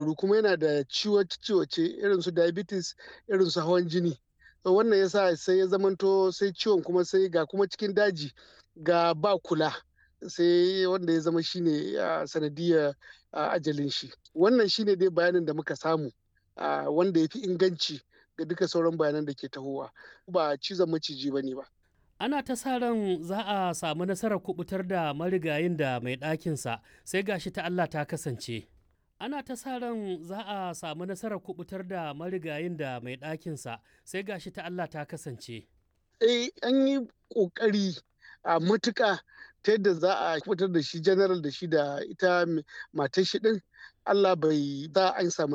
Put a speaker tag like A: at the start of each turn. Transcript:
A: Kuma yana da ciwace-ciwace irin su diabetes, irin su hawan jini. Wannan yasa sai ya zamanto sai ciwon kuma sai ga kuma cikin daji ga ba kula, sai wanda ya zama shine sanadiyar ajalin shi. Wannan shine dai bayanin da muka samu wanda ya fi inganci ga duka sauran bayanan da ke tahowa. Ba cizon maciji ba ne ba.
B: Ana ta sa ran za a samu nasarar kubutar da marigayin da mai ɗakinsa, sai gashi ta Allah ta kasance. Ana ta sa ran za a samu nasarar kubutar da marigayin da mai ɗakinsa, sai gashi ta Allah ta kasance.
A: Eh, an yi ƙoƙari a matuƙa ta yadda za a fitar da shi general da shi da ita matar shi ɗin. Allah bai za an samu